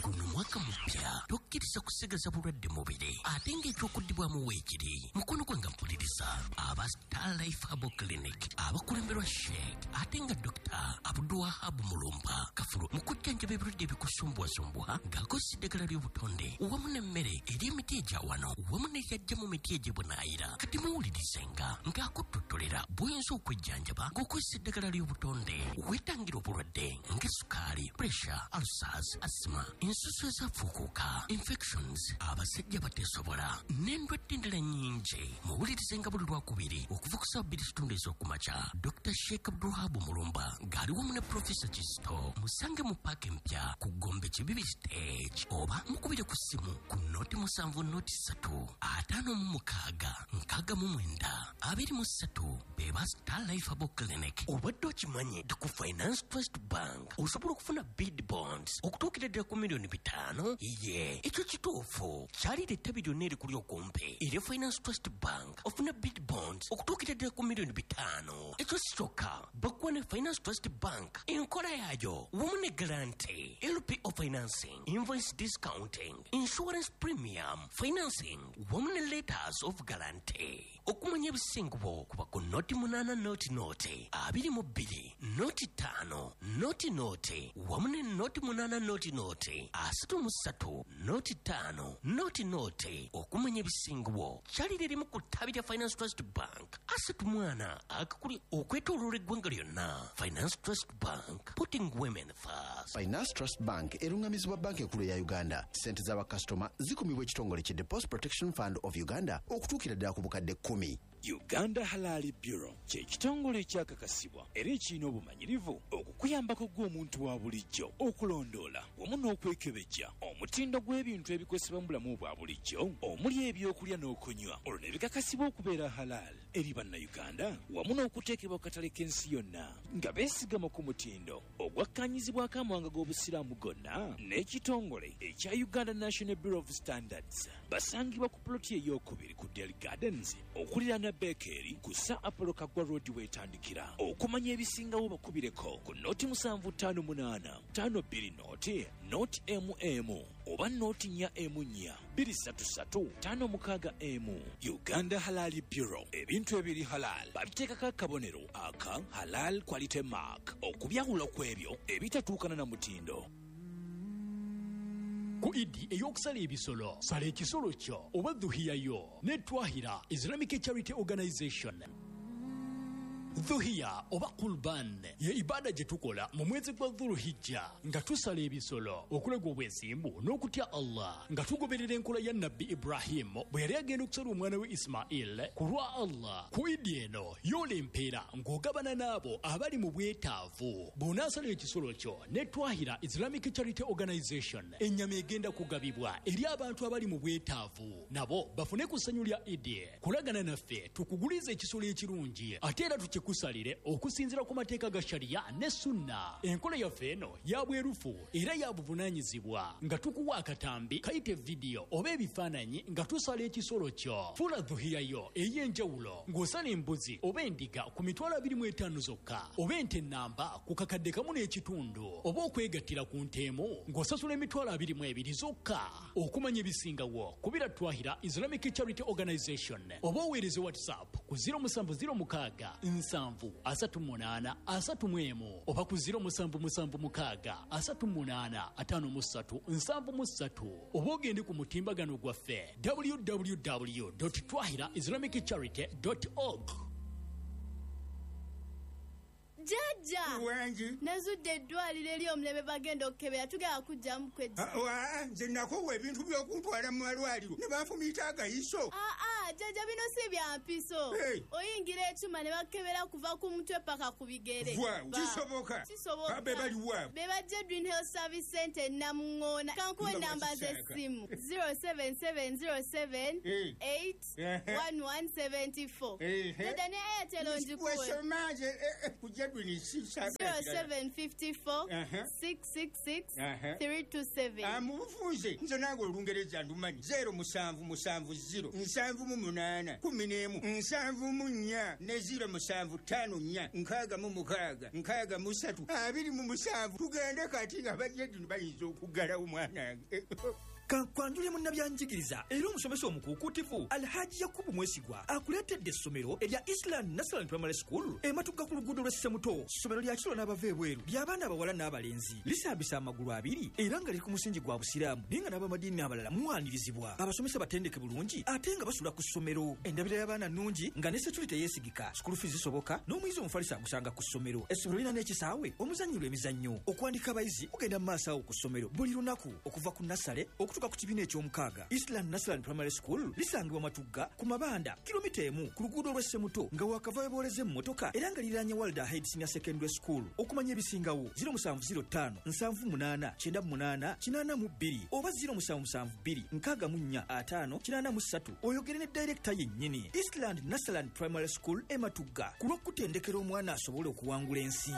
Guno mwaka mupya, tokkiriza kusigaza bulwadde mubiri ate ng'ekyokuddibwamu weekiri. Mukono gwange mpuliriza, aba Star Life Herbal Clinic abakulemberwa Sheikh ate nga Dr. Abdulwahab Mulumba Kafulu mu kujjanjaba ebirwadde ebikusumbuwasumbuwa ng'akozesa eddagala ly'obutonde wamu n'emmere eri emiti egya wano wamu n'eyajja mu miti egy'ebunaayira. Kati muwulirizenga ng'akuttotolera bw'oyinza okwejjanjaba ng'okozesa eddagala ly'obutonde weetangira obulwadde ng'esukaali, pressure, ulcers, asthma, ensusu ezafuukuuka, infections, abasajja bateesobola n'endwadde endala nnyingi. Muwulirizenga buli Lwakubiri okuva ku ssaawa 2:15 ez'okumakya. Dr. Sheikh Abdulwahab Mulumba ng'ali wamu ne Profesa Kisto musange mu paaka empya ku Gombe Kibibi stage oba mukubire ku ssimu ku 070 03 56 69 23. Beba Star Life Herbal Clinic. Obadde okimanyi nti ku Finance Trust Bank osobola okufuna bid bonds okutuukira ddala ku miliyoni 5? Ye, ekyo kituufu. Kyalira ettabi lyonna erikuli okumpi era Finance Trust Bank ofuna bid bonds okutuukira ddala ku miliyoni 5. Ekyo si kyokka, bakuwa ne Finance Trust Bank enkola yaayo wamu ne guarantee, LPO financing, invoice discounting, insurance premium financing wamu ne letters of guarantee. Okumanya ebisingubo kuba ku 080 0 22 05 00 wamu ne 080 00 33 05 00. Okumanya ebisingubo kyalira erimu ku ttabi lya Finance Trust Bank asatu mwana akakuli okwetooloola eggwanga lyonna. Finance Trust Bank, putting women first. Finance Trust Bank erungamizibwa Banka Enkulu eya Uganda. Sente z'abakasitoma zikumibwa ekitongole ki Deposit Protection Fund of Uganda okutuukira ddala ku bukadde 10. Uganda Halal Bureau kye kitongole ekyakakasibwa era ekirina obumanyirivu okukuyambako gwe omuntu wa bulijjo okulondoola wamu n'okwekebejja omutindo gw'ebintu ebikozesebwa mu bulamu bwa bulijjo omuli ebyokulya n'okunywa, olwo ne bikakasibwa okubeera halal eri Bannayuganda wamu n'okuteekebwa ku katale k'ensi yonna nga beesigama ku mutindo ogwakkaanyizibwako amawanga g'Obusiraamu gonna n'ekitongole ekya Uganda National Bureau of Standards. Basangibwa ku puloti eyokubiri ku Del Gardens okuliraana Bekeri ku Sir Apollo Kaggwa Road weetandikira. Okumanya ebisingawo bakubireko ku 0758 520 0 mm oba 044 233 56. Uganda Halal Bureau, ebintu ebiri halal babiteekako akabonero aka Halal Quality Mark okubyawula ku ebyo ebitatuukana na mutindo. Ku Idi ey'okusala ebisolo, sala ekisolo kyo oba dhuhiyayo ne Twahira Islamic Charity Organization. Dhuhiya oba Qurban ye ibada gye tukola mu mwezi gwa Dhuluhijja nga tusala ebisolo okulaga obwesimbu n'okutya Allah nga tugoberera enkola ya Nabbi Ibrahimu bwe yali agenda okusala omwana we Ismail ku lwa Allah. Ku Idi eno yoola empeera ng'ogabana n'abo abali mu bwetaavu. Bw'onaasala ekisolo kyo ne Twahira Islamic Charity Organization, ennyama egenda kugabibwa eri abantu abali mu bwetaavu nabo bafune ku ssanyu lya Idi. Kulagana naffe tukugulize ekisolo ekirungi ate era tukikusalire okusinziira ku mateeka ga Shariya ne Sunna. Enkola yaffe eno ya bwerufu era ya buvunaanyizibwa nga tukuwa akatambi kayite vidiyo oba ebifaananyi nga tusala ekisolo kyo. Fuula dhuhiyayo ey'enjawulo ng'osala embuzi oba endiga ku 25,000 zokka oba ente ennamba ku 1,500 oba okwegattira ku nte emu ng'osasula 22,000 zokka. Okumanya ebisingawo kubira Twahira Islamic Charity Organization oba oweereze WhatsApp ku 0706 7 38 31 oba ku 0776 38 53 73 oba ogende ku mutimbagano gwaffe www twahira islamic charity org. Jjajja! Wangi. Nazudde eddwaliro ery'omulembe, bagenda okukebera, tugenda kujjamu kwejja. Ah, wa, nze nakoowa ebintu by'okuntwala mu malwaliro ne banfumiita agayiso. Aa, jjajja, bino si bya mpiso. Hey. Oyingira ekyuma ne bakebera kuva ku mutwe paka ku bigere. Waawo, kisoboka? Kisoboka. Ah, be baliwa? Be bajja Green Health Service Center e Namuŋŋoona. Kankuwa Nga enamba bwakisaaka. z'essimu: 07707 Hey. 8 Ehe. 1174. Ehe. Jjajja, ne Airtel ngikuwe. Wesoma nze ku Jedwin sisaagala kirala. 0754 Ehe. 666 Ehe. 327. Ah, mu bufunze nze nange Olungereza ndumanyi. 0770 8, 11, 74 ne 0754 66 63 27. Tugende kati nga bajjajja bayinza okuggalawo mwanange. Kankwanjule munnabyanjigiriza era omusomesa omukuukuutivu Alhaji Yakubu Mwesigwa akuleetedde essomero erya Island National Primary School eMatugga ku luguudo lw'Essemuto. Ssomero lya kiro n'abava ebweru, ly'abaana abawala n'abalenzi, lisambisa amagulu abiri era nga liri ku musingi gwa Busiraamu, naye nga n'abamadiini abalala muwanirizibwa. Abasomesa batendeke bulungi ate nga basula ku ssomero. Endabira y'abaana nnungi nga ne security yeesigika. School fees zisoboka n'omuyizi omufalisi agusanga ku ssomero. Essomero lirina n'ekisaawe omuzannyirwa emizannyo. Okuwandika abayizi kugenda mu maaso awo ku ssomero buli lunaku okuva ku nasale okutuuka ku kibiina eky'omukaaga. Island National Primary School lisangibwa Matugga ku Mabanda, kilomita 1 ku luguudo lw'Essemuto nga wakava webooleza emmotoka, era nga liriraanye Walda Head Senior Secondary School. Okumanya ebisingawo, 0705 78 98 82 oba 0772 64 50 83, oyogere ne dayirekita yennyini. Eastland National Primary School eMatugga, ku lw'okutendekera omwana asobole okuwangula ensi.